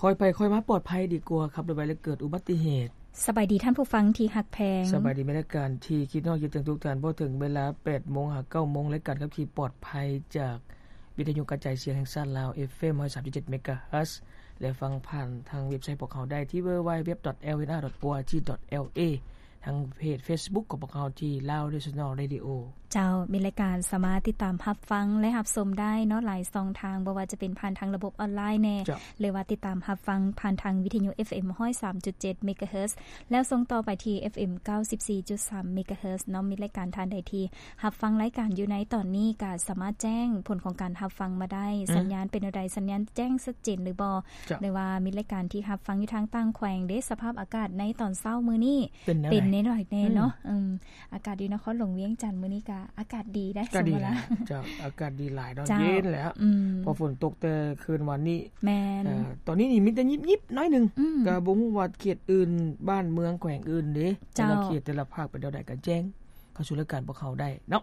ຄ່ອຍໄປຄ່ອຍມາປອດໄພດີກວ່າຂັບລົດໄວແລ້ວເກີດອຸບັດຕິເຫດ. ສະບາຍດີທ່ານຜູ້ຟັງທີ່ຮັກແພງ. ສະບາຍດີແມ່ນລາຍການທີ່ຄິດຮອດຄິດເຖິງທຸກທ່ານ. ພໍເຖິງເວລາແປດໂມງຫາເກົ້າໂມງ ລາຍການຂັບຂີ່ປອດໄພຈາກວິທະຍຸກະຈາຍສຽງແຫ່ງຊາດລາວ ເອັຟເອັມຮ້ອຍສາມຈຸດເຈັດເມກາເຮີດ ແລະ ຟັງຜ່ານທາງເວັບໄຊຂອງພວກເຮົາໄດ້ທີ່ www.lnr.org.la ທາງເພຈເຟສບຸກຂອງພວກເຮົາທີ່ Lao National Radio. ເຈົ້າ, ມີລາຍການສາມາດຕິດຕາມຮັບຟັງ ແລະ ຮັບຊົມໄດ້ເນາະ ຫຼາຍຊ່ອງທາງ, ບໍ່ວ່າຈະເປັນຜ່ານທາງລະບົບອອນລາຍແດ່ ເຈົ້າ ຫຼືວ່າຕິດຕາມຮັບຟັງຜ່ານທາງວິທະຍຸ ເອັຟເອັມຮ້ອຍສາມຈຸດເຈັດເມກາເຮີດ ແລ້ວສົ່ງຕໍ່ໄປທີ່ ເອັຟເອັມເກົ້າສິບສີ່ຈຸດສາມເມກາເຮີດເນາະ. ມີລາຍການທ່ານໃດທີ່ຮັບຟັງລາຍການຢູ່ໃນຕອນນີ້ ກໍສາມາດແຈ້ງຜົນຂອງການຮັບຟັງມາໄດ້. ອືມ ສັນຍານເປັນແນວໃດ? ສັນຍານແຈ້ງຊັດເຈນຫຼືບໍ່? ເຈົ້າ ຫຼືວ່າມີລາຍການທີ່ຮັບຟັງຢູ່ທາງຕ່າງແຂວງເດ້? ສະພາບອາກາດໃນຕອນເຊົ້າມື້ນີ້ ເປັນແນວໃດ? ເປັນແນວໃດແດ່ເນາະ? ອືມ ອືມ ອາກາດຢູ່ນະຄອນຫຼວງວຽງຈັນມື້ນີ້ກະອາກາດດີໄດ໋ ກະດີ ສົມມຸດລະ ເຈົ້າ ອາກາດດີຫຼາຍເນາະ ເຢັນແລ້ວ ອືມ ເພາະຝົນຕົກແຕ່ຄືນວານນີ້ ແມ່ນ ເອີ ຕອນນີ້ນີ້ມີແຕ່ຍິບໆໜ້ອຍໜຶ່ງ ອືມ ກະບໍ່ຮູ້ວ່າເຂດອື່ນ ບ້ານເມືອງແຂວງອື່ນເດ້ ເຈົ້າ ແຕ່ລະເຂດແຕ່ລະພາກເປັນແນວໃດ ກະແຈ້ງເຂົ້າສູ່ລາຍການພວກເຮົາໄດ້ເນາະ.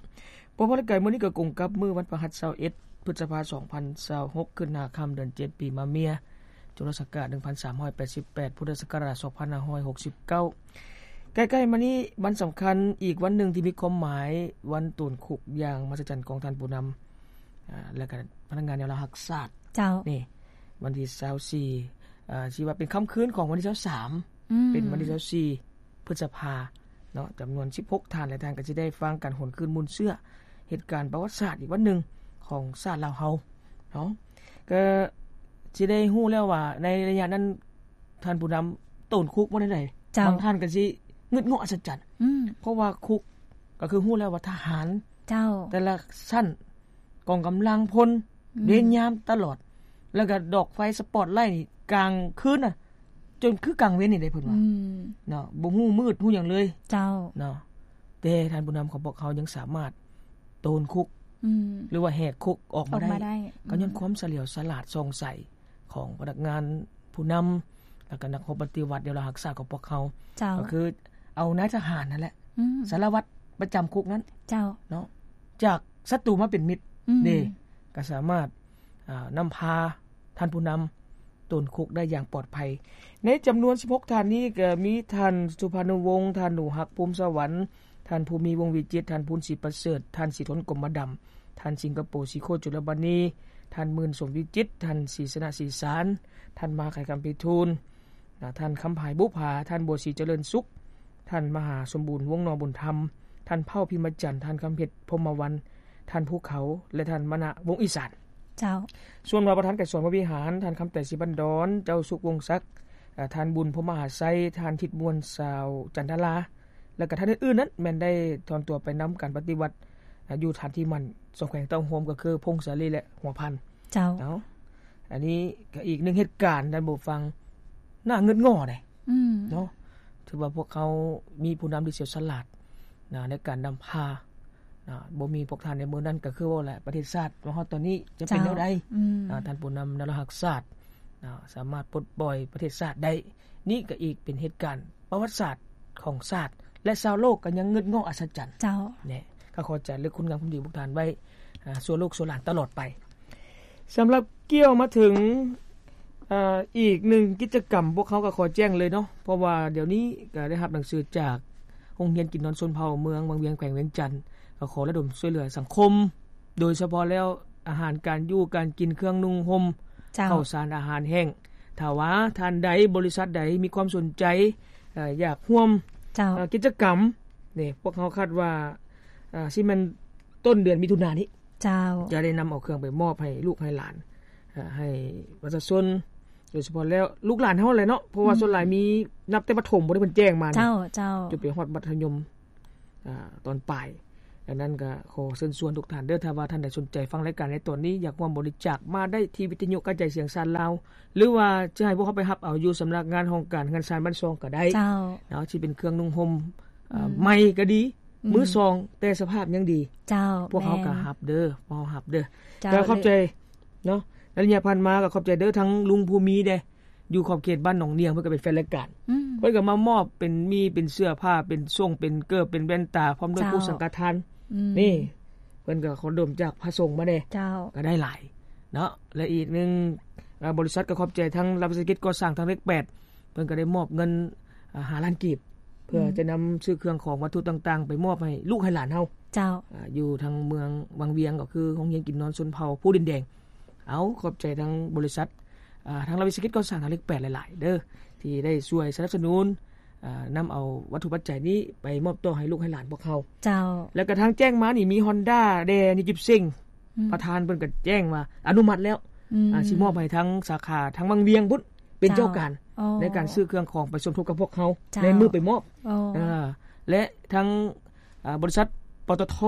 ເພາະວ່າລາຍການມື້ນີ້ກະກົງກັບມື້ວັນພະຫັດ ຊາວເອັດ ພຶດສະພາ ສອງພັນຊາວຫົກ ຂຶ້ນຫ້າຄ່ຳເດືອນເຈັດ ປີມະເມຍ ຈຸລະສັກກະໜຶ່ງພັນສາມຮ້ອຍແປດສິບແປດ ພຸດທະສັກກະລາດ ສອງພັນຫ້າຮ້ອຍຫົກສິບເກົ້າ. ໃກ້ໆມານີ້ວັນສຳຄັນອີກວັນໜຶ່ງທີ່ມີຄວາມໝາຍ ວັນໂຕນຄຸກຢ່າງມະຫັດສະຈັນຂອງທ່ານຜູ້ນຳ ອາ ແລະກະພະນັກງານແນວລາວຮັກຊາດ ເຈົ້າ ນີ້ ວັນທີຊາວສີ່ ອາ ຊິວ່າເປັນຄ່ຳຄືນຂອງວັນທີຊາວສາມ ອືມ ເປັນວັນທີຊາວສີ່ ພຶດສະພາເນາະ ຈຳນວນສິບຫົກທ່ານ ແລະ ທ່ານກໍຊິໄດ້ຟັງການຫວນຄືນມູນເຊື້ອເຫດການປະຫວັດສາດອີກວັນໜຶ່ງຂອງຊາດລາວເຮົາເນາະ. ກໍຊິໄດ້ຮູ້ແລ້ວວ່າໃນໄລຍະນັ້ນ ທ່ານຜູ້ນຳໂຕນຄຸກວ່າແນວໃດ? ເຈົ້າ ບາງທ່ານກໍຊິງຶດງໍ້ອັດສະຈັນ ອືມ ເພາະວ່າຄຸກກໍຄືຮູ້ແລ້ວວ່າທະຫານ ເຈົ້າ ແຕ່ລະຊັ້ນ ກອງກຳລັງພົນ ອືມ ເວນຍາມຕະຫຼອດ ແລ້ວກໍດອກໄຟສະປອດໄລກາງຄືນນະ ຈົນຄືກາງເວັນນີ້ເດ້ເພິ່ນວ່າ ອືມ ເນາະ ບໍ່ຮູ້ມືດຮູ້ຫຍັງເລີຍ ເຈົ້າ ເນາະ. ແຕ່ທ່ານຜູ້ນຳຂອງພວກເຮົາຍັງສາມາດໂຕນຄຸກ ອືມ ຫຼືວ່າແຫກຄຸກອອກມາໄດ້ ອອກມາໄດ້ ກໍຍ້ອນ ອືມ ຄວາມສະຫຼຽວສະຫຼາດສ່ອງໃສຂອງພະນັກງານຜູ້ນຳ ແລ້ວກໍນັກຮົບປະຕິວັດແນວລາວຮັກຊາດຂອງພວກເຮົາ ເຈົ້າ ກໍຄືເອົານາຍທະຫານນັ້ນແຫຼະ ອືມ ສາລະວັດປະຈຳຄຸກນັ້ນ ເຈົ້າ ເນາະ ຈາກສັດຕູມາເປັນມິດ ອືມ ເດ້ ກໍສາມາດ ອາ ນຳພາທ່ານຜູ້ນຳໂຕນຄຸກໄດ້ຢ່າງປອດໄພ. ໃນຈຳນວນສິບຫົກທ່ານນີ້ ກໍມີທ່ານ ສຸພານຸວົງ ທ່ານ ໜູຮັກ ພູມສະຫວັນ ທ່ານ ພູມີ ວົງວິຈິດ ທ່ານ ພູນ ສີປະເສີດ ທ່ານ ສີທົນ ກົມມະດຳ ທ່ານ ສິງກະໂປ ສີໂຄດ ຈຸລະມະນີ ທ່ານ ໝື່ນ ສົມວິຈິດ ທ່ານ ສີຊະນະ ສີສານ ທ່ານ ມາໄຄ ຄຳໄພທູນ ນະ ທ່ານ ຄຳພາຍ ບຸພາ ທ່ານ ບົວສີ ຈະເລີນສຸກ ທ່ານ ມະຫາສົມບູນ ວົງໜໍບຸນທຳ ທ່ານ ເຜົ່າ ພິມມະຈັນ ທ່ານ ຄຳເພັດ ພົມມະວັນ ທ່ານ ພູເຂົາ ແລະ ທ່ານ ມະນະ ວົງອີສານ ເຈົ້າ. ສ່ວນວ່າປະທານໄກສອນ ວະວິຫານ ທ່ານ ຄຳໄຕ ສີບັນດອນ ເຈົ້າສຸກ ວົງສັກ ອາ ທ່ານ ບຸນ ພົມມະຫາໄຊ ທ່ານ ທິດມ່ວນ ສາວ ຈັນທະລາ ແລະ ກໍທ່ານອື່ນໆນັ້ນ ແມ່ນໄດ້ຖອນຕົວໄປນຳການປະຕິວັດ ອາ ຢູ່ຖານທີ່ໝັ້ນສອງແຂວງເຕົ້າໂຮມ ກໍຄື ຜົ້ງສາລີ ແລະ ຫົວພັນ ເຈົ້າ. ເອົາ ອັນນີ້ກໍອີກໜຶ່ງເຫດການ ທ່ານຜູ້ຟັງ ໜ້າງຶດງໍ້ເດ້ ອືມ ເນາະ ຖືວ່າພວກເຮົາມີຜູ້ນຳທີ່ສຽວສະຫຼາດນະ ໃນການນຳພານະ ບໍ່ມີພວກທ່ານໃນມື້ນັ້ນ ກໍຄືເວົ້າແຫຼະ ປະເທດຊາດມາຮອດຕອນນີ້ຈະເປັນແນວໃດ? ເຈົ້າ ອືມ ນະ ທ່ານຜູ້ນຳແນວລາວຮັກຊາດນະ ສາມາດປົດປ່ອຍປະເທດຊາດໄດ້. ນີ້ກໍອີກເປັນເຫດການປະຫວັດສາດຂອງຊາດ ແລະ ຊາວໂລກກໍຍັງງຶດງໍ້ອັດສະຈັນ. ເຈົ້າ ແນະ ກໍຂໍຈາລຶກຄຸນງາມຄວາມດີຂອງພວກທ່ານໄວ້ ອ່າ ຊົ່ວລູກຊົ່ວຫຼານຕະຫຼອດໄປ. ສຳລັບກ່ຽວມາເຖິງ ເອີ ອີກໜຶ່ງກິດຈະກຳ ພວກເຮົາກໍຂໍແຈ້ງເລີຍເນາະ ເພາະວ່າດຽວນີ້ກໍໄດ້ຮັບໜັງສືຈາກໂຮງຮຽນກິນນອນຊົນເຜົ່າເມືອງວັງວຽງ ແຂວງວຽງຈັນ ກໍຂໍລະດົມຊ່ວຍເຫຼືອສັງຄົມ ໂດຍສະເພາະແລ້ວອາຫານການຢູ່ການກິນ ເຄື່ອງນຸ່ງຫົ່ມ ເຈົ້າ ເຂົ້າສານອາຫານແຫ້ງ. ຖ້າວ່າທ່ານໃດ ບໍລິສັດໃດມີຄວາມສົນໃຈ ເອີ ຢາກຮ່ວມ ເຈົ້າ ເອີ ກິດຈະກຳນີ້ ພວກເຮົາຄາດວ່າ ເອີ ຊິແມ່ນຕົ້ນເດືອນມິຖຸນານີ້ ເຈົ້າ ຈະໄດ້ນຳເອົາເຄື່ອງໄປມອບໃຫ້ລູກໃຫ້ຫຼານ ເອີ ໃຫ້ປະຊາຊົນ ໂດຍສະເພາະແລ້ວລູກຫຼານເຮົາແຫຼະເນາະ ເພາະວ່າ ອືມ ສ່ວນຫຼາຍມີນັບແຕ່ປະຖົມບໍ່ໄດ້ເພິ່ນແຈ້ງມາ ເຈົ້າ ເຈົ້າ ຈົນໄປຮອດມັດທະຍົມ ອ່າ ຕອນປາຍ. ດັ່ງນັ້ນກໍຂໍເຊີນຊວນທຸກທ່ານເດີ ຖ້າວ່າທ່ານໃດສົນໃຈຟັງລາຍການໃນຕອນນີ້ ຢາກຮ່ວມບໍລິຈາກ ມາໄດ້ທີ່ວິທະຍຸກະຈາຍສຽງຊາດລາວ ຫຼືວ່າຈະໃຫ້ພວກເຮົາໄປຮັບເອົາຢູ່ສຳນັກງານຫ້ອງການເຮືອນຊານບ້ານຊ່ອງກໍໄດ້ ເຈົ້າ ເນາະ ຊິເປັນເຄື່ອງນຸ່ງຫົ່ມ ອືມ ໃໝ່ກໍດີ ອືມ ມືສອງ ແຕ່ສະພາບຍັງດີ ເຈົ້າ ພວກເຮົາກໍ ແມ່ນ ຮັບເດີ ພວກເຮົາຮັບເດີ ເຈົ້າ ກໍຂອບໃຈເນາະ ໃນໄລຍະຜ່ານມາກໍຂອບໃຈເດີ ທັງລຸງພູມີເດ້ ຢູ່ຂອບເຂດບ້ານໜອງນຽງ ເພິ່ນກໍເປັນແຟນລາຍການ ອືມ ເພິ່ນກໍມາມອບເປັນມີ້ເປັນເສື້ອຜ້າ ເປັນສົ້ງເປັນເກີບ ເປັນແວ່ນຕາ ພ້ອມດ້ວຍ ເຈົ້າ ກູ້ສັງຄະທານ ອືມ ນີ້ ເພິ່ນກໍຂໍລະດົມຈາກພະສົງມາແດ່ ເຈົ້າ ກໍໄດ້ຫຼາຍເນາະ. ແລະ ອີກໜຶ່ງ ອາ ບໍລິສັດກໍຂອບໃຈທາງລັດວິສາຫະກິດກໍ່ສ້າງທາງເລກແປດ ເພິ່ນກໍໄດ້ມອບເງິນ ອາ ຫ້າລ້ານກີບ ເພື່ອ ອືມ ຈະນຳຊື້ເຄື່ອງຂອງວັດຖຸຕ່າງໆ ໄປມອບໃຫ້ລູກໃຫ້ຫຼານເຮົາ ເຈົ້າ ອາ ຢູ່ທາງເມືອງວັງວຽງ ກໍຄືໂຮງຮຽນກິນນອນຊົນເຜົ່າພູດິນແດງ. ເອົາ ຂອບໃຈທາງບໍລິສັດ ອາ ທາງລັດວິສາຫະກິດກໍ່ສ້າງທາງເລກແປດຫຼາຍໆເດີ້ ທີ່ໄດ້ຊ່ວຍສະໜັບສະໜູນ ອາ ນຳເອົາວັດຖຸປັດໄຈນີ້ໄປມອບຕໍ່ໃຫ້ລູກໃຫ້ຫຼານພວກເຮົາ ເຈົ້າ ແລ້ວກະທາງແຈ້ງມານີ້ມີຮອນດ້າແດ່ ນິຈິບເຊັງ ອືມ ປະທານເພິ່ນກໍແຈ້ງວ່າອະນຸມັດແລ້ວ ອືມ ອາ ຊິມອບໃຫ້ທາງສາຂາທາງວັງວຽງພຸ້ນ ເປັນເຈົ້າການ ເຈົ້າ ໃນການຊື້ເຄື່ອງຂອງໄປສົມທົບກັບພວກເຮົາ ເຈົ້າ ໃນມື້ໄປມອບ ໂອ້ ອາ ແລະທາງ ອາ ບໍລິສັດ ປຕທ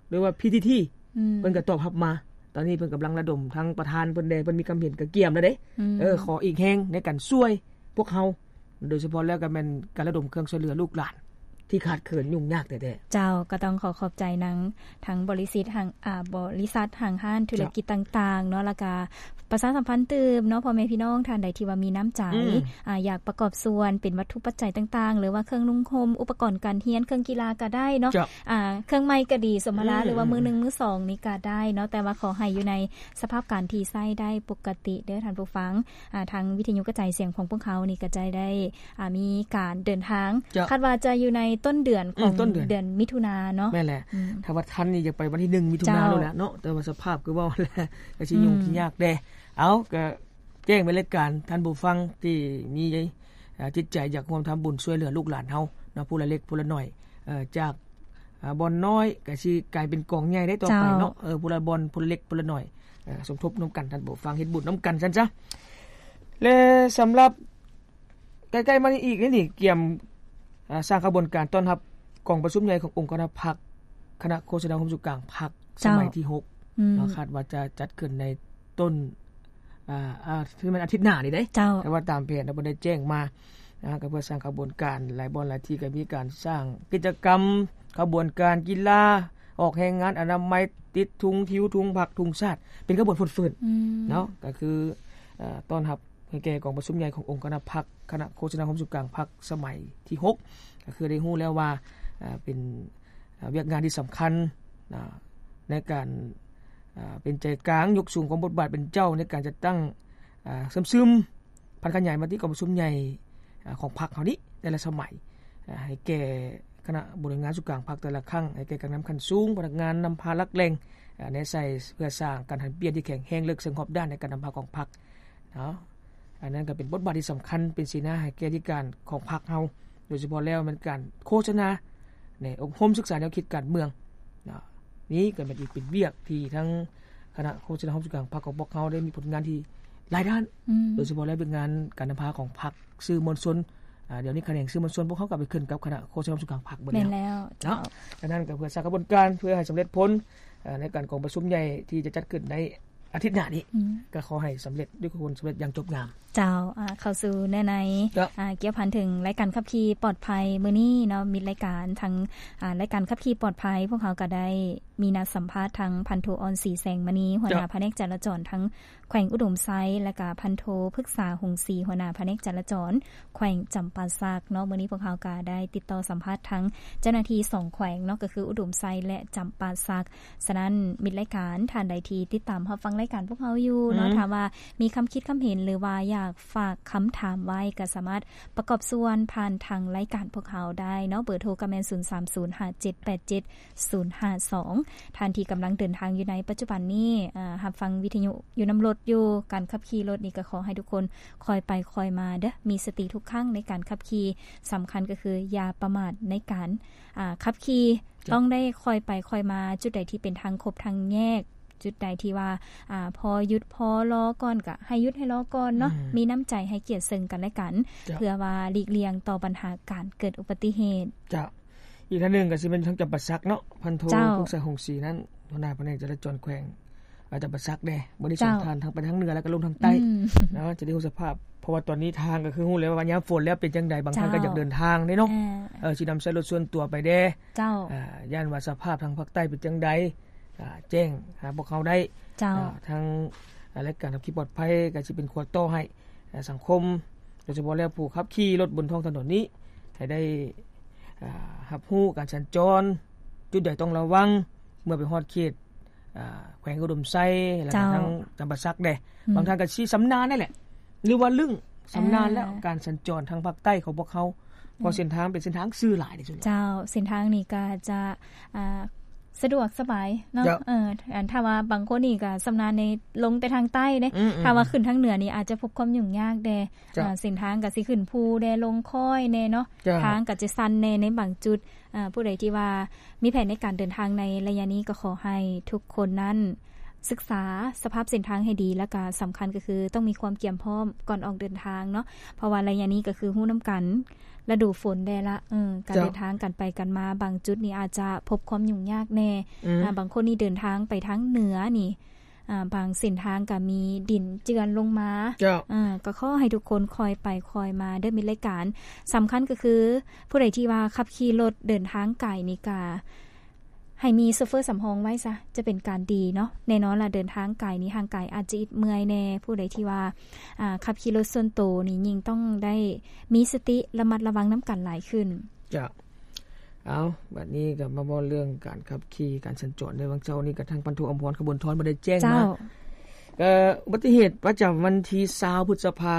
ຫຼືວ່າ ພີທີທີ ອືມ ເພິ່ນກໍຕອບຮັບມາ ຕອນນີ້ເພິ່ນກຳລັງລະດົມ ທາງປະທານເພິ່ນແດ່ ເພິ່ນມີຄວາມເຫັນກະກຽມແລ້ວເດ້ ອືມ ເອີ ຂໍອີກແຮງໃນການຊ່ວຍພວກເຮົາ ໂດຍສະເພາະແລ້ວກໍແມ່ນການລະດົມເຄື່ອງຊ່ວຍເຫຼືອລູກຫຼານທີ່ຂາດເຂີນຫຍຸ້ງຍາກແທ້ໆ. ເຈົ້າ ກໍຕ້ອງຂໍຂອບໃຈນາງ ທັງບໍລິສິດຫາງ ອາ ບໍລິສັດຫ້າງຮ້ານທຸລະກິດຕ່າງໆເນາະ ແລ້ວກະປະຊາສຳພັນຕື່ມເນາະ ພໍ່ແມ່ພີ່ນ້ອງທ່ານໃດທີ່ວ່າມີນ້ຳໃຈ ອືມ ອາ ຢາກປະກອບສ່ວນເປັນວັດຖຸປັດໄຈຕ່າງໆ ຫຼືວ່າເຄື່ອງນຸ່ງຫົ່ມ ອຸປະກອນການຮຽນ ເຄື່ອງກິລາກໍໄດ້ເນາະ ເຈົ້າ ອາ ເຄື່ອງໄມ້ກໍດີ ສົມມະລາ ອືມ ຫຼືວ່າມືໜຶ່ງມືສອງນີ້ກໍໄດ້ເນາະ ແຕ່ວ່າຂໍໃຫ້ຢູ່ໃນສະພາບການທີ່ໃຊ້ໄດ້ປົກກະຕິເດີ້ທ່ານຜູ້ຟັງ. ອາ ທາງວິທະຍຸກະຈາຍສຽງຂອງພວກເຮົານີ້ກໍຈະໄດ້ ອາ ມີການເດີນທາງ ເຈົ້າ ຄາດວ່າຈະຢູ່ໃນຕົ້ນເດືອນຂອງ ອືມ ຕົ້ນເດືອນ ເດືອນມິຖຸນາເນາະ ແມ່ນແຫຼະ ອືມ ຖ້າວ່າທັນນີ້ຢາກໄປວັນທີໜຶ່ງມິຖຸນາ ເຈົ້າ ໂລດແຫຼະເນາະ ແຕ່ວ່າສະພາບຄືເວົ້າແຫຼະ ກໍຊິຫຍຸ້ງ ອືມ ຊິຍາກແດ່. ເອົາ ກໍແຈ້ງໄປລາຍການ ທ່ານຜູ້ຟັງທີ່ມີ ອາ ຈິດໃຈຢາກຮ່ວມທຳບຸນຊ່ວຍເຫຼືອລູກຫຼານເຮົາເນາະ ຜູ້ລະເລັກຜູ້ລະໜ້ອຍ ເອີ ຈາກ ອາ ບ່ອນນ້ອຍກໍຊິກາຍເປັນກອງໃຫຍ່ໄດ້ຕໍ່ໄປເນາະ ເຈົ້າ ເອີ ຜູ້ລະບ່ອນ ຜູ້ລະເລັກຜູ້ລະໜ້ອຍ ເອີ ສົມທົບນຳກັນ ທ່ານຜູ້ຟັງ ເຮັດບຸນນຳກັນຊັ້ນຊະ. ແລະ ສຳລັບໃກ້ໆມານີ້ອີກນີ້ ກຽມ ອາ ສ້າງຂະບວນການຕ້ອນຮັບກອງປະຊຸມໃຫຍ່ຂອງອົງຄະນະພັກ ຄະນະໂຄສະນາໂຮມສູນກາງພັກ ເຈົ້າ ສະໄໝທີຫົກ ອືມ ເນາະ ຄາດວ່າຈະຈັດຂຶ້ນໃນຕົ້ນ ອາ ອາ ຄືແມ່ນອາທິດໜ້ານີ້ເດ້ ເຈົ້າ ແຕ່ວ່າຕາມແຜນເພິ່ນໄດ້ແຈ້ງມາ ນະ ກໍເພື່ອສ້າງຂະບວນການ ຫຼາຍບ່ອນຫຼາຍທີ່ກໍມີການສ້າງກິດຈະກຳ ຂະບວນການກິລາ ອອກແຮງງານອະນາໄມ ຕິດທຸງ ຫິ້ວທຸງພັກ ທຸງຊາດ ເປັນຂະບວນຟົດຟື້ນ ອືມ ເນາະ ກໍຄື ເອີ ຕ້ອນຮັບໃຫ້ແກ່ກອງປະຊຸມໃຫຍ່ຂອງອົງຄະນະພັກ ຄະນະໂຄສະນາໂຮມສູນກາງພັກ ສະໄໝທີຫົກ ກໍຄືໄດ້ຮູ້ແລ້ວວ່າ ເປັນ ວຽກງານທີ່ສຳຄັນ ໃນການ ເປັນໃຈກາງ ຍົກສູງຄວາມບົດບາດເປັນເຈົ້າ ໃນການຈັດຕັ້ງ ເຊື່ອມຊຶມ ຜັນຂະຫຍາຍມະຕິກອງປະຊຸມໃຫຍ່ ອາ ຂອງພັກເຮົານີ້ແຕ່ລະສະໄໝ ອາ ໃຫ້ແກ່ຄະນະບໍລິຫານງານສູນກາງພັກແຕ່ລະຄັ້ງ ໃຫ້ແກ່ການນຳຂັ້ນສູງ ພະນັກງານນຳພາຫຼັກແຫຼ່ງ ອາ ແນໃສ່ ເພື່ອສ້າງການຫັນປ່ຽນທີ່ແຂງແຮງເລິກເຊິ່ງຮອບດ້ານໃນການນຳພາຂອງພັກເນາະ. ອັນນັ້ນກໍເປັນບົດບາດທີ່ສຳຄັນ ເປັນເສນາໃຫ້ແກ່ທິການຂອງພັກເຮົາ ໂດຍສະເພາະແລ້ວແມ່ນການໂຄສະນາ ໃນອົບຮົມສຶກສາແນວຄິດການເມືອງເນາະ. ນີ້ກໍແມ່ນອີກເປັນວຽກທີ່ທາງຄະນະໂຄສະນາໂຮມສູນກາງພັກຂອງພວກເຮົາໄດ້ມີຜົນງານທີ່ຫຼາຍດ້ານ ອືມ ໂດຍສະເພາະແລ້ວວຽກງານການນຳພາຂອງພັກ ສື່ມວນຊົນ ອາ ດຽວນີ້ຂະແໜງສື່ມວນຊົນພວກເຮົາກໍໄປຂຶ້ນກັບຄະນະໂຄສະນາໂຮມສູນກາງພັກເບິດແລ້ວ ແມ່ນແລ້ວ ເນາະ ເຈົ້າ. ອັນນັ້ນກໍເພື່ອສ້າງຂະບວນການເພື່ອໃຫ້ສຳເລັດຜົນ ອາ ໃນການກອງປະຊຸມໃຫຍ່ທີ່ຈະຈັດຂຶ້ນໃນອາທິດໜ້ານີ້ ອືມ ກໍຂໍໃຫ້ສຳເລັດດ້ວຍຄວາມສຳເລັດຢ່າງຈົບງາມ. ເຈົ້າ ອາ ເຂົ້າສູ່ເນື້ອໃນ ເຈົ້າ ອາ ກ່ຽວພັນເຖິງລາຍການຂັບຂີ່ປອດໄພມື້ນີ້ເນາະ ມິດລາຍການທາງ ອາ ລາຍການຂັບຂີ່ປອດໄພ ພວກເຮົາກໍໄດ້ມີນັດສຳພາດທາງພັນໂທ ອ່ອນສີແສງມະນີ ຫົວໜ້າ ເຈົ້າ ພະແນກຈະລາຈອນທາງ ແຂວງອຸດົມໄຊ ແລະກະພັນໂທ ພຶກສາ ຫົງສີ ຫົວໜ້າພະແນກຈະລາຈອນແຂວງຈຳປາສັກເນາະ. ມື້ນີ້ພວກເຮົາກະໄດ້ຕິດຕໍ່ສຳພາດທັງເຈົ້າໜ້າທີ່ສອງແຂວງເນາະ ກະຄືອຸດົມໄຊ ແລະ ຈຳປາສັກ. ສະນັ້ນ ມິດລາຍການ ທ່ານໃດທີ່ຕິດຕາມຮັບຟັງລາຍການພວກເຮົາຢູ່ເນາະ ອືມ ຖ້າວ່າມີຄຳຄິດຄຳເຫັນ ຫຼືວ່າຢາກຝາກຄຳຖາມໄວ້ ກະສາມາດປະກອບສ່ວນຜ່ານທາງລາຍການພວກເຮົາໄດ້ເນາະ. ເບີໂທກະແມ່ນ ສູນສາມສູນ ຫ້າເຈັດແປດເຈັດ ສູນຫ້າສອງ. ທ່ານທີ່ກຳລັງເດີນທາງຢູ່ໃນປັດຈຸບັນນີ້ ອາ ຮັບຟັງວິທະຍຸຢູ່ນຳລົດຢູ່ ການຂັບຂີ່ລົດນີ້ກໍຂໍໃຫ້ທຸກຄົນຄ່ອຍໄປຄ່ອຍມາເດີ້ ມີສະຕິທຸກຄັ້ງໃນການຂັບຂີ່. ສຳຄັນກໍຄືຢ່າປະໝາດໃນການ ອາ ຂັບຂີ່ ເຈົ້າ ຕ້ອງໄດ້ຄ່ອຍໄປຄ່ອຍມາ. ຈຸດໃດທີ່ເປັນທາງຄົບທາງແຍກ ຈຸດໃດທີ່ວ່າ ອາ ພໍຢຸດພໍລໍກ່ອນ ກໍໃຫ້ຢຸດໃຫ້ລໍກ່ອນເນາະ ອືມ ມີນ້ຳໃຈໃຫ້ກຽດເຊິ່ງກັນແລະກັນ ເຈົ້າ ເພື່ອວ່າຫຼີກລ່ຽງຕໍ່ບັນຫາການເກີດອຸບັດຕິເຫດ. ເຈົ້າ. ອີກທ່ານໜຶ່ງກໍຊິແມ່ນທາງຈຳປາສັກເນາະ ພັນໂທ ເຈົ້າ ພົງໄຊ ຫົງສີນັ້ນ ຫົວໜ້າພະແນກຈະລາຈອນແຂວງ ອາ ຈຳປາສັກເດ້. ມື້ນີ້ ເຈົ້າ ສອງທ່ານ ທັງໄປທາງເໜືອ ແລະກໍລົງທາງໃຕ້ ອືມ ເນາະ ຈະໄດ້ຮູ້ສະພາບ ເພາະວ່າຕອນນີ້ທາງກໍຄືຮູ້ແລ້ວວ່າຍາມຝົນແລ້ວເປັນຈັ່ງໃດ ບາງທ່ານ ເຈົ້າ ກໍຢາກເດີນທາງເດ້ເນາະ ເອີ ຊິນຳໃຊ້ລົດສ່ວນຕົວໄປແດ່ ເຈົ້າ ອາ ຢ້ານວ່າສະພາບທາງພາກໃຕ້ເປັນຈັ່ງໃດ ອາ ແຈ້ງຫາພວກເຮົາໄດ້ ເຈົ້າ ອາ ທາງ ອາ ລາຍການຂັບຂີ່ປອດໄພກໍຊິເປັນຂົວຕໍ່ໃຫ້ ອາ ສັງຄົມ ໂດຍສະເພາະແລ້ວຜູ້ຂັບຂີ່ລົດບົນທ້ອງຖະໜົນນີ້ ໃຫ້ໄດ້ ອາ ຮັບຮູ້ການສັນຈອນ ຈຸດໃດຕ້ອງລະວັງ ເມື່ອໄປຮອດເຂດ ອ່າ ແຂວງອຸດົມໄຊ ແລ້ວກໍ ເຈົ້າ ທາງຈຳປາສັກແດ່ ອືມ ບາງທ່ານກໍຊິຊຳນານນັ້ນແຫຼະ ຫຼືວ່າລຶ້ງຊຳນານແລ້ວ ອ່າ ການສັນຈອນທາງພາກໃຕ້ຂອງພວກເຮົາ ເພາະ ອືມ ເສັ້ນທາງເປັນເສັ້ນທາງຊື່ຫຼາຍທີ່ສຸດ. ເຈົ້າ ເສັ້ນທາງນີ້ກໍຈະ ອ່າ ສະດວກສະບາຍເນາະ ເຈົ້າ ເອີ ອັນຖ້າວ່າບາງຄົນນີ້ກໍຊຳນານໃນລົງແຕ່ທາງໃຕ້ເດ້ ອືມໆ ຖ້າວ່າຂຶ້ນທາງເໜືອນີ້ອາດຈະພົບຄວາມຫຍຸ້ງຍາກແດ່ ເຈົ້າ ອ່າ ເສັ້ນທາງກໍຊິຂຶ້ນພູແດ່ ລົງຄອຍແດ່ເນາະ ເຈົ້າ ທາງກໍຈະຊັນແດ່ໃນບາງຈຸດ ອ່າ ຜູ້ໃດທີ່ວ່າມີແຜນໃນການເດີນທາງໃນໄລຍະນີ້ ກໍຂໍໃຫ້ທຸກຄົນນັ້ນສຶກສາສະພາບເສັ້ນທາງໃຫ້ດີ ແລ້ວກະສຳຄັນກໍຄືຕ້ອງມີຄວາມກຽມພ້ອມກ່ອນອອກເດີນທາງເນາະ ເພາະວ່າໄລຍະນີ້ກໍຄືຮູ້ນຳກັນ ລະດູຝົນແດ່ລະ ເອີ ການ ເຈົ້າ ເດີນທາງກັນໄປກັນມາ ບາງຈຸດນີ້ອາດຈະພົບຄວາມຫຍຸ້ງຍາກແດ່ ອືມ ອ່າ ບາງຄົນນີ້ເດີນທາງໄປທາງເໜືອນີ້ ອ່າ ບາງເສັ້ນທາງກໍມີດິນເຈື່ອນລົງມາ ເຈົ້າ ອ່າ ກໍຂໍໃຫ້ທຸກຄົນຄ່ອຍໄປຄ່ອຍມາເດີມິດລາຍການ ສຳຄັນກໍຄືຜູ້ໃດທີ່ວ່າຂັບຂີ່ລົດເດີນທາງໄກນີ້ກະໃຫ້ມີໂຊເຟີສຳຮອງໄວ້ຊະ ຈະເປັນການດີເນາະ ແນ່ນອນລະເດີນທາງໄກນີ້ຮ່າງກາຍອາດຈະອິດເມື່ອຍແດ່ ຜູ້ໃດທີ່ວ່າ ອ່າ ຂັບຂີ່ລົດສ່ວນໂຕນີ້ຍິ່ງຕ້ອງໄດ້ມີສະຕິລະມັດລະວັງນຳກັນຫຼາຍຂຶ້ນ. ເຈົ້າ ເອົາ ບັດນີ້ກໍມາເວົ້າເລື່ອງການຂັບຂີ່ການສັນຈອນໃນວັນເສົານີ້ ກໍທາງພັນໂທ ອຳພອນ ຂະບວນທອນ ບໍ່ໄດ້ແຈ້ງມາ ເຈົ້າ ກໍອຸບັດຕິເຫດປະຈຳວັນທີຊາວ ພຶດສະພາ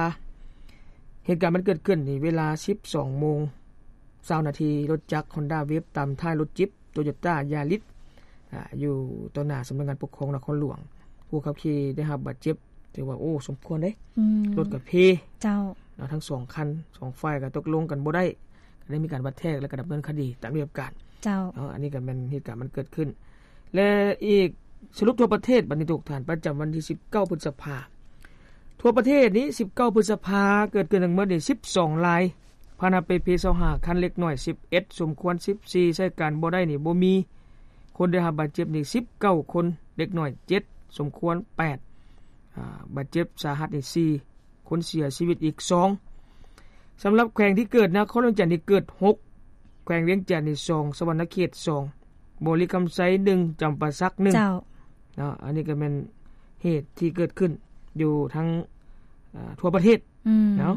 ເຫດການມັນເກີດຂຶ້ນນີ້ເວລາສິບສອງໂມງຊາວນາທີ ລົດຈັກ Honda Wave ຕາມທ້າຍລົດຈິບ Toyota Yaris ອາ ຢູ່ຕໍ່ໜ້າສຳນັກງານປົກຄອງນະຄອນຫຼວງ ຜູ້ຂັບຂີ່ໄດ້ຮັບບາດເຈັບ ຖືວ່າ ໂອ້ ສົມຄວນເດ້ ອືມ ລົດກໍເພ ເຈົ້າ ເນາະ ທັງສອງຄັນ ສອງຝ່າຍກໍຕົກລົງກັນບໍ່ໄດ້ ກໍໄດ້ມີການວັດແທກ ແລ້ວກໍດຳເນີນຄະດີຕາມລະບຽບການ ເຈົ້າ ເນາະ ອັນນີ້ກໍແມ່ນເຫດການມັນເກີດຂຶ້ນ ແລະ ອີກສະຫຼຸບທົ່ວປະເທດ ບັດນີ້ທຸກທ່ານ ປະຈຳວັນທີສິບເກົ້າ ພຶດສະພາ ທົ່ວປະເທດນີ້ ສິບເກົ້າ ພຶດສະພາ ເກີດຂຶ້ນທັງໝົດນີ້ສິບສອງລາຍ ພາຫະນະເປ່ເພຊາວຫ້າຄັນ ເດັກນ້ອຍສິບເອັດ ສົມຄວນສິບສີ່ ໃຊ້ການບໍ່ໄດ້ນີ້ບໍ່ມີ ຄົນໄດ້ຮັບບາດເຈັບນີ້ສິບເກົ້າຄົນ ເດັກນ້ອຍເຈັດ ສົມຄວນແປດ ອາ ບາດເຈັບສາຫັດນີ້ສີ່ ຄົນເສຍຊີວິດອີກສອງ ສຳລັບແຂວງທີ່ເກີດ ນະຄອນຫຼວງວຽງຈັນນີ້ເກີດຫົກ ແຂວງວຽງຈັນນີ້ສອງ ສະຫວັນນະເຂດສອງ ບໍລິຄຳໄຊໜຶ່ງ ຈຳປາສັກໜຶ່ງ ເຈົ້າ ເນາະ ອັນນີ້ກໍແມ່ນເຫດທີ່ເກີດຂຶ້ນຢູ່ທັງ ອາ ທົ່ວປະເທດ ອືມ ເນາະ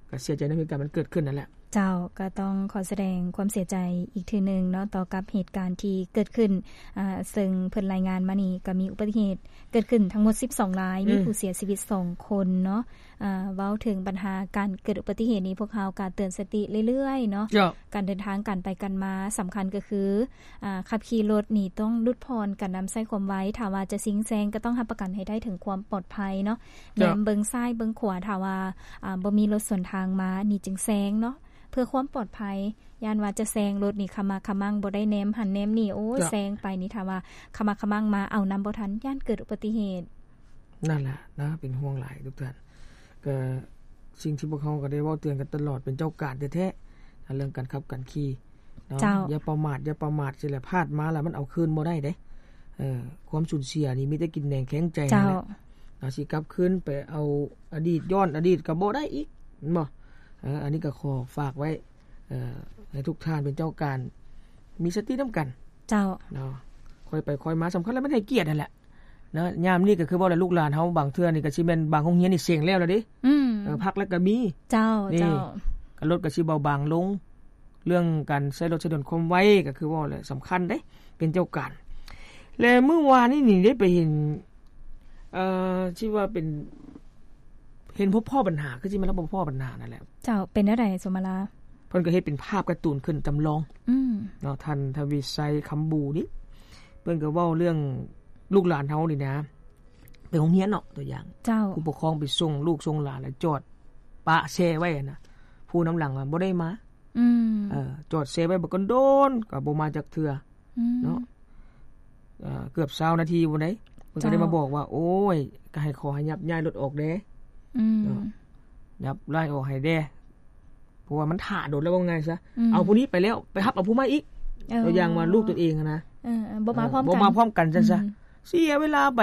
ກໍເສຍໃຈນຳເຫດການມັນເກີດຂຶ້ນນັ້ນແຫຼະ. ເຈົ້າ ກໍຕ້ອງຂໍສະແດງຄວາມເສຍໃຈອີກເທື່ອໜຶ່ງເນາະ ຕໍ່ກັບເຫດການທີ່ເກີດຂຶ້ນ ອາ ເຊິ່ງເພິ່ນລາຍງານມານີ້ ກໍມີອຸບັດຕິເຫດເກີດຂຶ້ນທັງໝົດສິບສອງລາຍ ອືມ ມີຜູ້ເສຍຊີວິດສອງຄົນເນາະ ອາ ເວົ້າເຖິງບັນຫາການເກີດອຸບັດຕິເຫດນີ້ ພວກເຮົາກໍເຕືອນສະຕິເລື້ອຍໆເນາະ ເຈົ້າ ການເດີນທາງກັນໄປກັນມາ ສຳຄັນກໍຄື ອາ ຂັບຂີ່ລົດນີ້ຕ້ອງຫຼຸດຜ່ອນການນຳໃຊ້ຄວາມໄວ ຖ້າວ່າຈະຊິງແຊງກໍຕ້ອງຮັບປະກັນໃຫ້ໄດ້ເຖິງຄວາມປອດໄພເນາະ ເຈົ້າ ແນມເບິ່ງຊ້າຍເບິ່ງຂວາ ຖ້າວ່າ ອາ ບໍ່ມີລົດສວນທາງມານີ້ຈຶ່ງແຊງເນາະ ເພື່ອຄວາມປອດໄພ ຢ້ານວ່າຈະແຊງລົດນີ້ຂະໝາກຂະມັງ ບໍ່ໄດ້ແນມຫັ້ນແນມນີ້ ໂອ້ຍ ເຈົ້າ ແຊງໄປນີ້ ຖ້າວ່າຂະໝາກຂະມັງມາ ເອົານຳບໍ່ທັນ ຢ້ານເກີດອຸບັດຕິເຫດ. ນັ້ນແຫຼະນະ ເປັນຫ່ວງຫຼາຍທຸກທ່ານ ກໍສິ່ງທີ່ພວກເຮົາກໍໄດ້ເວົ້າເຕືອນກັນຕະຫຼອດ ເປັນເຈົ້າການແທ້ໆ ເລື່ອງການຂັບການຂີ່ເນາະ ເຈົ້າ ຢ່າປະໝາດ ຢ່າປະໝາດ ຊິແຫຼະ ພາດມາແລ້ວມັນເອົາຄືນບໍ່ໄດ້ເດ້ ເອີ ຄວາມສູນເສຍນີ້ມີແຕ່ກິນແໜງແຂງໃຈ ເຈົ້າ ນັ້ນແຫຼະເນາະ ຊິກັບຄືນໄປເອົາອະດີດ ຍ້ອນອະດີດກໍບໍ່ໄດ້ອີກ ແມ່ນບໍ່? ເອີ ອັນນີ້ກໍຂໍຝາກໄວ້ ເອີ ໃຫ້ທຸກທ່ານເປັນເຈົ້າການ ມີສະຕິນຳກັນ ເຈົ້າ ເນາະ ຄ່ອຍໄປຄ່ອຍມາ ສຳຄັນແລ້ວແມ່ນໃຫ້ກຽດຫັ້ນແຫຼະ ເນາະ ຍາມນີ້ກໍຄືເວົ້າແຫຼະ ລູກຫຼານເຮົາບາງເທື່ອນີ້ກໍຊິແມ່ນບາງໂຮງຮຽນນີ້ເສັງແລ້ວລະເດ້ ອືມ ເອີ ພັກແລ້ວກໍມີ ເຈົ້າ ນີ້ ເຈົ້າ ກໍລົດກໍຊິເບົາບາງລົງ ເລື່ອງການໃຊ້ລົດໃຊ້ຖະໜົນຄວາມໄວ ກໍຄືເວົ້າແຫຼະ ສຳຄັນເດ້ ເປັນເຈົ້າການ ແລະ ມື້ວານນີ້ນີ້ໄດ້ໄປເຫັນ ເອີ ທີ່ວ່າເປັນ ເຫັນພົບພໍ້ບັນຫາ ຄືຊິແມ່ນລາວພົບພໍ້ບັນຫານັ້ນແຫຼະ ເຈົ້າ ເປັນແນວໃດ ສົມມາລາ? ເພິ່ນກໍເຮັດເປັນພາບກາຕູນຂຶ້ນຈຳລອງ ອືມ ເນາະ ທ່ານ ທະວີໄຊ ຄຳບູນີ້ ເພິ່ນກໍເວົ້າເລື່ອງລູກຫຼານເຮົານີ້ນະ ໄປໂຮງຮຽນເນາະ ຕົວຢ່າງ ເຈົ້າ ຜູ້ປົກຄອງໄປສົ່ງລູກສົ່ງຫຼານ ແລ້ວຈອດປະແຊ່ໄວ້ຫັ້ນນະ ຜູ້ນຳຫຼັງວ່າບໍ່ໄດ້ມາ ອືມ ເອີ ຈອດແຊ່ໄວ້ບັກກະດົນ ກໍບໍ່ມາຈັກເທື່ອ ອືມ ເນາະ ເອີ ເກືອບຊາວນາທີພຸ້ນໃດ ເພິ່ນກໍໄດ້ມາບອກວ່າ ເຈົ້າ ໂອ້ຍ ກໍໃຫ້ຂໍໃຫ້ຍັບຍ້າຍລົດອອກແດ່ ອືມ ເນາະ ຍັບຍ້າຍອອກໃຫ້ແດ່ ເພາະວ່າມັນຖ້າດົນແລ້ວ ເວົ້າງ່າຍຊະ ອືມ ເອົາຜູ້ນີ້ໄປແລ້ວ ໄປຮັບເອົາຜູ້ໃໝ່ອີກ ເອີ ຕົວຢ່າງວ່າລູກຕົວເອງຫັ້ນນະ ເອີ ບໍ່ມາ ເອີ ພ້ອມກັນ ບໍ່ມາພ້ອມກັນຊັ້ນຊະ ອືມ ເສຍເວລາໄປ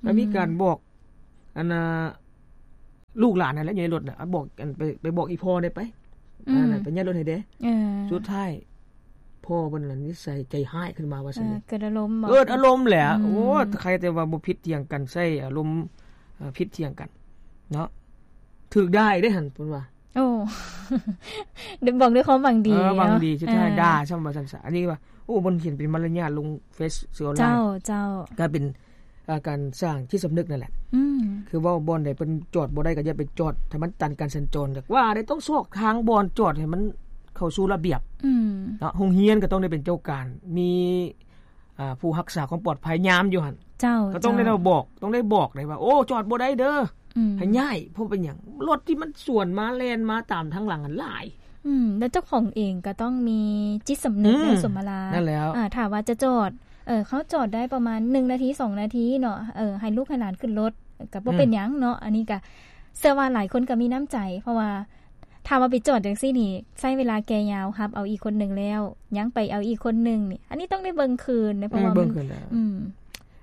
ອືມ ກໍມີການບອກ ອັນນ່າ ລູກຫຼານຫັ້ນແຫຼະຢູ່ໃນລົດນະ ບອກ ອັນ ໄປ ໄປບອກອີ່ພໍ່ແດ່ໄປ ອືມ ອັນນັ້ນ ໄປຍ້າຍລົດໃຫ້ແດ່ ເອີ ສຸດທ້າຍພໍ່ເພິ່ນນັ້ນນິໄສໃຈຮ້າຍຂຶ້ນມາວ່າຊັ້ນ ເອີ ເກີດອາລົມ ເກີດອາລົມແຫຼະ ອືມ ໂອ້ ໃຄແຕ່ວ່າບໍ່ຜິດຖຽງກັນ ໃຊ້ອາລົມ ເອີ ຜິດຖຽງກັນເນາະ ຖືກດ້າຍເດ້ຫັ້ນ ເພິ່ນວ່າ ໂອ້ ໄດ້ບອກດ້ວຍຄວາມຫວັງດີ ເອີ ຫວັງດີ ເນາະ ສຸດທ້າຍ ເອີ ດ່າຊ້ຳວ່າຊັ້ນຊະ. ອັນນີ້ວ່າ ໂອ້ ເພິ່ນຂຽນເປັນມາລະຍາດລົງເຟສສື່ອອນລາຍ ເຈົ້າ ເຈົ້າ ກາຍເປັນ ເອີ ການສ້າງຈິດສຳນຶກນັ້ນແຫຼະ ອືມ ຄືເວົ້າບ່ອນໃດເພິ່ນຈອດບໍ່ໄດ້ກໍຢ່າໄປຈອດ ຖ້າມັນຕັນການສັນຈອນ ກໍວ່າໄດ້ ຕ້ອງຊອກທາງບ່ອນຈອດໃຫ້ມັນເຂົ້າສູ່ລະບຽບ ອືມ ເນາະ. ໂຮງຮຽນກໍຕ້ອງໄດ້ເປັນເຈົ້າການ ມີ ອ່າ ຜູ້ຮັກສາຄວາມປອດໄພຍາມຢູ່ຫັ້ນ ເຈົ້າ ກໍຕ້ອງໄດ້ ເຈົ້າ ບອກ ຕ້ອງໄດ້ບອກໄດ້ວ່າ ໂອ້ ຈອດບໍ່ໄດ້ເດີ ອືມ ໃຫ້ຍ້າຍ. ເພາະເປັນຫຍັງ? ລົດທີ່ມັນສວນມາແລ່ນມາຕາມທາງຫຼັງຫັ້ນຫຼາຍ ອືມ ແລ້ວເຈົ້າຂອງເອງກໍຕ້ອງມີຈິດສຳນຶກ ອືມ ໃນສົມມະລາ ນັ້ນແຫຼ້ວ ອ່າ ຖ້າວ່າຈະຈອດ ເອີ ເຂົາຈອດໄດ້ປະມານໜຶ່ງນາທີ ສອງນາທີເນາະ ເອີ ໃຫ້ລູກໃຫ້ຫຼານຂຶ້ນລົດ ກໍບໍ່ເປັນຫຍັງເນາະ ອືມ ອັນນີ້ກໍເຊື່ອວ່າຫຼາຍຄົນກໍມີນ້ຳໃຈ ເພາະວ່າ ຖ້າວ່າໄປຈອດຈັ່ງຊີ້ນີ້ ໃຊ້ເວລາແກ່ຍາວ ຮັບເອົາອີກຄົນໜຶ່ງແລ້ວ ຍັງໄປເອົາອີກຄົນໜຶ່ງນີ້ ອັນນີ້ຕ້ອງໄດ້ເບິ່ງຄືນເດ້ ເພາະວ່າ ເອີ ເບິ່ງຄືນແລ້ວ ອືມ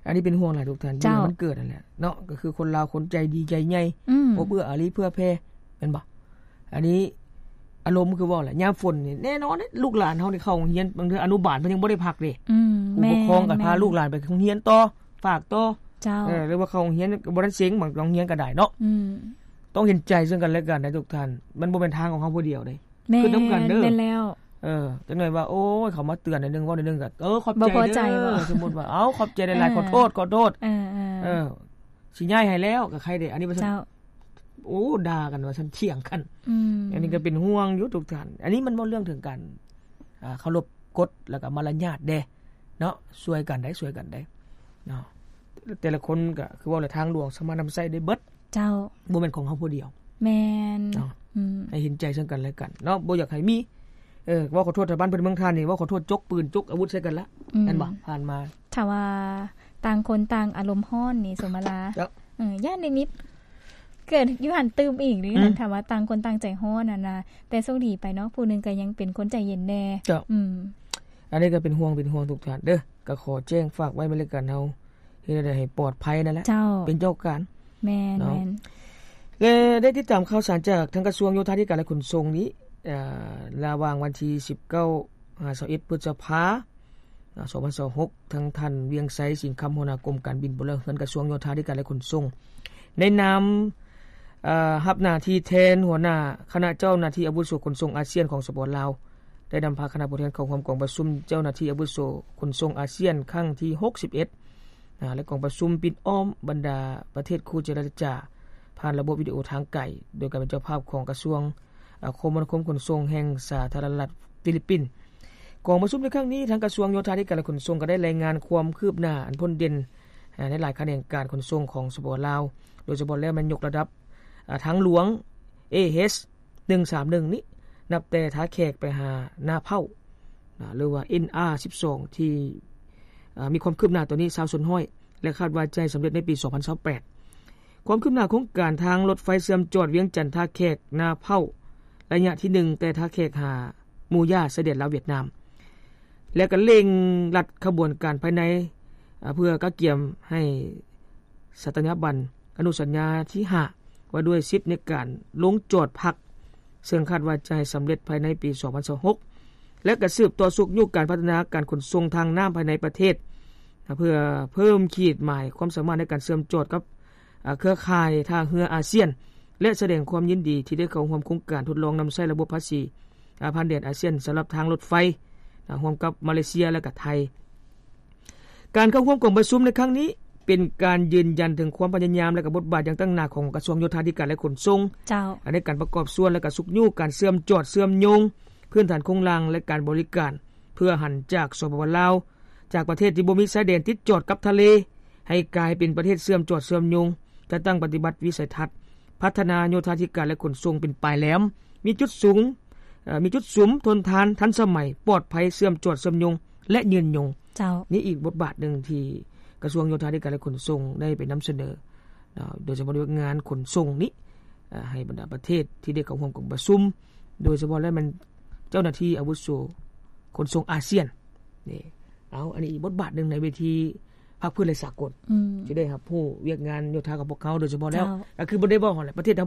ອັນນີ້ເປັນຫ່ວງຫຼາຍທຸກທ່ານ ເຈົ້າ ຢູ່ໃນວັນເກີດຫັ້ນແຫຼະເນາະ ກໍຄືຄົນລາວຄົນໃຈດີໃຈໃຫຍ່ ອືມ ອົບເອື້ອອາລີເຜື່ອແຜ່ ແມ່ນບໍ່? ອັນນີ້ອາລົມຄືເວົ້າແຫຼະ ຍາມຝົນນີ້ແນ່ນອນເດ້ ລູກຫຼານເຮົານີ້ເຂົ້າໂຮງຮຽນ ບາງເທື່ອອະນຸບານເພິ່ນຍັງບໍ່ໄດ້ພັກເດ້ ອືມ ຜູ້ປົກຄອງກໍພາ ແມ່ນໆ ລູກຫຼານໄປໂຮງຮຽນຕໍ່ ຝາກຕໍ່ ເຈົ້າ ເອີ ຫຼືວ່າເຂົ້າໂຮງຮຽນກໍບໍ່ທັນເສັງ ບາງໂຮງຮຽນກໍໄດ້ເນາະ ອືມ ຕ້ອງເຫັນໃຈເຊິ່ງກັນແລະກັນໄດ໋ທຸກທ່ານ ມັນບໍ່ແມ່ນທາງຂອງເຮົາຜູ້ດຽວເດ້ ແມ່ນ ຂຶ້ນນຳກັນເດີ ແມ່ນແລ້ວ ເອີ ຈັກໜ້ອຍວ່າ ໂອ້ຍ ເຂົາມາເຕືອນໜ້ອຍໜຶ່ງ ເວົ້າໜ້ອຍໜຶ່ງກໍ ເອີ ຂອບໃຈເດີ ບໍ່ພໍໃຈບໍ່ ສົມມຸດວ່າ ເອົ້າ ຂອບໃຈຫຼາຍໆ ເອີ ຂໍໂທດ ຂໍໂທດ ເອີໆ ເອີ ຊິຍ້າຍໃຫ້ແລ້ວ ກໍໃຄ່ເດ້ ອັນນີ້ວ່າຊັ້ນ ເຈົ້າ ໂອ້ ດ່າກັນວ່າຊັ້ນ ຖຽງກັນ ອືມ ອັນນີ້ກໍເປັນຫ່ວງຢູ່ທຸກທ່ານ ອັນນີ້ມັນເວົ້າເລື່ອງເຖິງການ ອ່າ ເຄົາລົບກົດ ແລ້ວກໍມາລະຍາດເດ້ເນາະ ຊ່ວຍກັນໄດ໋ ຊ່ວຍກັນໄດ໋ເນາະ ແຕ່ລະຄົນກໍຄືເວົ້າແຫຼະ ທາງຫຼວງສາມາດນຳໃຊ້ໄດ້ເບິດ ເຈົ້າ ບໍ່ແມ່ນຂອງເຮົາຜູ້ດຽວ ແມ່ນເນາະ ອືມ ໃຫ້ເຫັນໃຈເຊິ່ງກັນແລະກັນເນາະ ບໍ່ຢາກໃຫ້ມີ ເອີ ເວົ້າຂໍໂທດ ແຖວບ້ານເພິ່ນເມືອງທ່ານນີ້ ເວົ້າຂໍໂທດ ຈົກປືນ ຈົກອາວຸດໃສ່ກັນລະ ອືມ ແມ່ນບໍ່? ຜ່ານມາ ຖ້າວ່າຕ່າງຄົນຕ່າງອາລົມຮ້ອນນີ້ ສົມມະລາ ເຈົ້າ ເອີ ຢ້ານໄດ້ມີເກີດຢູ່ຫັ້ນຕື່ມອີກເດ້ ອືມ ຖ້າວ່າຕ່າງຄົນຕ່າງໃຈຮ້ອນຫັ້ນນະ ແຕ່ໂຊກດີໄປເນາະ ຜູ້ໜຶ່ງກໍຍັງເປັນຄົນໃຈເຢັນແດ່ ເຈົ້າ ອືມ ອັນນີ້ກໍເປັນຫ່ວງ ເປັນຫ່ວງທຸກທ່ານເດີ ກໍຂໍແຈ້ງຝາກໄວ້ນຳລາຍການເຮົາ ເຮັດແນວໃດໃຫ້ປອດໄພນັ້ນແຫຼະ ເຈົ້າ ເປັນເຈົ້າການ ແມ່ນ ເນາະ ແມ່ນ ແລະ ໄດ້ຕິດຕາມຂ່າວສານຈາກທາງກະຊວງໂຍທາທິການ ແລະ ຂົນສົ່ງນີ້ ເອີ ລະຫວ່າງວັນທີສິບເກົ້າ ຫາ ຊາວເອັດ ພຶດສະພາ ສອງພັນຊາວຫົກ ທາງທ່ານ ວຽງໄຊ ສິງຄຳ ຫົວໜ້າກົມການບິນພົນລະເຮືອນ ກະຊວງໂຍທາທິການ ແລະ ຂົນສົ່ງ ໃນນາມ ເອີ ຮັບໜ້າທີ່ແທນຫົວໜ້າຄະນະເຈົ້າໜ້າທີ່ອາວຸໂສຂົນສົ່ງອາຊຽນຂອງ ສປປ ລາວ ໄດ້ນຳພາຄະນະຜູ້ແທນເຂົ້າຮ່ວມກອງປະຊຸມເຈົ້າໜ້າທີ່ອາວຸໂສຂົນສົ່ງອາຊຽນຄັ້ງທີຫົກສິບເອັດ ອາ ແລະ ກອງປະຊຸມປິດອ້ອມບັນດາປະເທດຄູ່ເຈລະຈາ ຜ່ານລະບົບວິດີໂອທາງໄກ ໂດຍການເປັນເຈົ້າພາບຂອງກະຊວງ ອາ ຄົມມະນາຄົມຂົນສົ່ງແຫ່ງສາທາລະນະລັດຟີລິບປິນ. ກອງປະຊຸມໃນຄັ້ງນີ້ ທາງກະຊວງໂຍທາທິການ ແລະ ຂົນສົ່ງ ກໍໄດ້ລາຍງານຄວາມຄືບໜ້າອັນພົ້ນເດັ່ນ ອາ ໃນຫຼາຍຂະແໜງການຂົນສົ່ງຂອງ ສປປ ລາວ ໂດຍສະເພາະແລ້ວແມ່ນຍົກລະດັບ ອາ ທາງຫຼວງ ເອເອັດ ໜຶ່ງສາມໜຶ່ງນີ້ ນັບແຕ່ທ່າແຂກໄປຫານາເພົ້າ ນະ ຫຼືວ່າ ເອັນອາສິບສອງ ທີ່ ເອີ ມີຄວາມຄືບໜ້າຕົວນີ້ຊາວສ່ວນຮ້ອຍ ແລະ ຄາດວ່າຈະໃຫ້ສຳເລັດໃນປີສອງພັນຊາວແປດ. ຄວາມຄືບໜ້າໂຄງການທາງລົດໄຟເຊື່ອມຈອດວຽງຈັນ ທ່າແຂກ ນາເພົ້າ ໄລຍະທີໜຶ່ງ ແຕ່ທ່າແຂກຫາໝູຢາ ຊາຍແດນລາວຫວຽດນາມ ແລະ ກໍເລັ່ງລັດຂະບວນການພາຍໃນ ເພື່ອກະກຽມໃຫ້ສັດຕະຍາບັນ ອະນຸສັນຍາທີຫ້າ ວ່າດ້ວຍສິດໃນການລົງຈອດພັກ ເຊິ່ງຄາດວ່າຈະໃຫ້ສຳເລັດພາຍໃນປີສອງພັນຊາວຫົກ ແລະ ກະສືບຕໍ່ຊຸກຍູ້ການພັດທະນາການຂົນສົ່ງທາງນ້ຳພາຍໃນປະເທດ ເພື່ອເພີ່ມຂີດໝາຍຄວາມສາມາດໃນການເຊື່ອມຈອດກັບ ເຄືອຂ່າຍທ່າເຮືອອາຊຽນ ແລະ ສະແດງຄວາມຍິນດີທີ່ໄດ້ເຂົ້າຮ່ວມໂຄງການທົດລອງນຳໃຊ້ລະບົບພາສີ ອາ ຜ່ານແດນອາຊຽນສຳລັບທາງລົດໄຟ ອາ ຮ່ວມກັບມາເລເຊຍ ແລະ ກະໄທ. ການເຂົ້າຮ່ວມກອງປະຊຸມໃນຄັ້ງນີ້ ເປັນການຢືນຢັນເຖິງຄວາມພະຍາຍາມ ແລະ ກະບົດບາດຢ່າງຕັ້ງໜ້າຂອງກະຊວງໂຍທາທິການ ແລະ ຂົນສົ່ງ ເຈົ້າ ໃນການປະກອບສ່ວນ ແລະ ກະຊຸກຍູ້ການເຊື່ອມຈອດເຊື່ອມໂຍງພື້ນຖານໂຄງລ່າງ ແລະ ການບໍລິການ ເພື່ອຫັນຈາກ ສປປ ລາວ ຈາກປະເທດທີ່ບໍ່ມີຊາຍແດນຕິດຈອດກັບທະເລ ໃຫ້ກາຍເປັນປະເທດເຊື່ອມຈອດເຊື່ອມໂຍງ, ຈັດຕັ້ງປະຕິບັດວິໄສທັດ ພັດທະນາໂຍທາທິການ ແລະ ຂົນສົ່ງເປັນປາຍແຫຼມ, ມີຈຸດສູງ, ເອີ ມີຈຸດສຸມ, ທົນທານ, ທັນສະໄໝ, ປອດໄພ, ເຊື່ອມຈອດເຊື່ອມໂຍງ ແລະ ຍືນຍົງ. ເຈົ້າ. ນີ້ອີກບົດບາດໜຶ່ງທີ່ກະຊວງໂຍທາທິການ ແລະ ຂົນສົ່ງໄດ້ໄປນຳສະເໜີ ເນາະ ໂດຍສະເພາະວຽກງານຂົນສົ່ງນີ້ ເອີ ໃຫ້ບັນດາປະເທດທີ່ໄດ້ເຂົ້າຮ່ວມກອງປະຊຸມ ໂດຍສະເພາະແລ້ວແມ່ນເຈົ້າໜ້າທີ່ອາວຸໂສຂົນສົ່ງອາຊຽນ. ນີ້ ເອົາ ອັນນີ້ອີກບົດບາດໜຶ່ງໃນເວທີພາກພື້ນ ແລະ ສາກົນ ອືມ ທີ່ໄດ້ຮັບຮູ້ວຽກງານໂຍທາຂອງພວກເຮົາ ໂດຍສະເພາະແລ້ວ ເຈົ້າ ກໍຄືບໍ່ໄດ້ເວົ້າຫັ້ນແຫຼະ ປະເທດເຮົາ